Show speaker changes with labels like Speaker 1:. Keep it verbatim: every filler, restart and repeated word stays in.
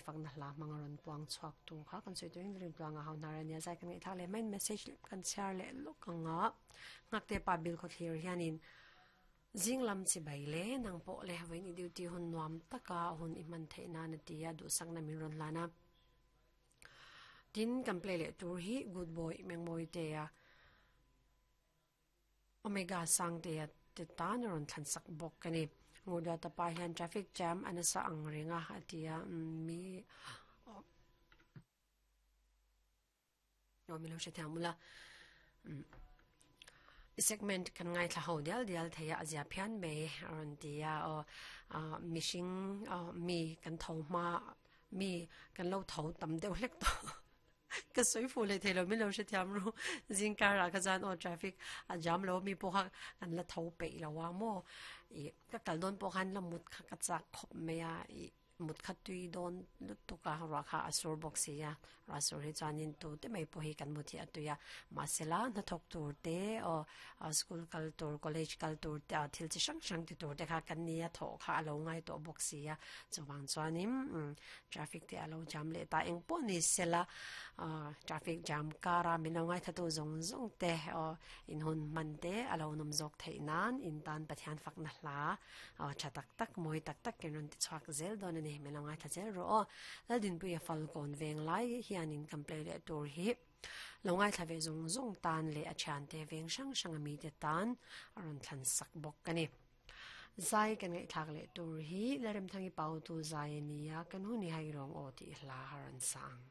Speaker 1: fakna hla hmanga rawn puang chhuak tu kha kan sawi turin rin tluanga ho hnar ania zai kan ngaihthlak leh main message kan chhiar leh lawk anga ngakte pa bil khaw thlir hianin zing lam chi bai le nang pawh le vawiin i duty hun nuam taka hun i hman theih nan a ti a duhsakna min rawn hlan a tin kan play leh tur hi good boy mengmawi te a omega sang te a te tan a rawn thlan sak bawk a ni ngurduat pa hian traffic jam a nasa ang reng a a ti a mi aw min lo hre thiam ula segment kan ngaithla ho dial dial thei a a zia phian mai a rawn ti a aw mihring mi kan tho hma mi kan lo tho tam deuh hlek tawh ka sawi fuh leh thei lo min lo hre thiam ru zing karah kha chuan aw traffic a jam lo mi pawh kha kan la tho peih lo a maw ih ka kal dawn pawh khan la mut kha ka chak khawp mai a ih mut kha tui dawn lutuk a ruah kha a sur bawk si a ruah sur hi chuanin tu te mai pawh hi kan mut hi a tui a mahsela hnathawk tur te aw school kal tur college kal tur te thil chi hrang hrang ti tur te kha kan nia thawh kha a lo ngai tawh bawk si a chuvang chuanin traffic te a lo jam leh ta eng pawh ni sela traffic jam kara min lo ngaithla tu zawng zawng te aw in hun hman te a lo nawm zawk theih nan in tan Pathian fakna hla aw tha tak tak mawi tak tak in rawn ti chhuak zel dawn a ni min lo ngaithla zel rawh aw Laldinpuia Falkawn veng lai hianin kan play leh tur hi lo ngaithla ve zawng zawng tan leh a thiante veng hrang hrang a mite tan a rawn thlan sak bawk a ni. Zai kan ngaihthlak leh tur hi Lalremthangi Pautu zai a ni a, kan hun i hai rawng aw tih hla a rawn sa ang.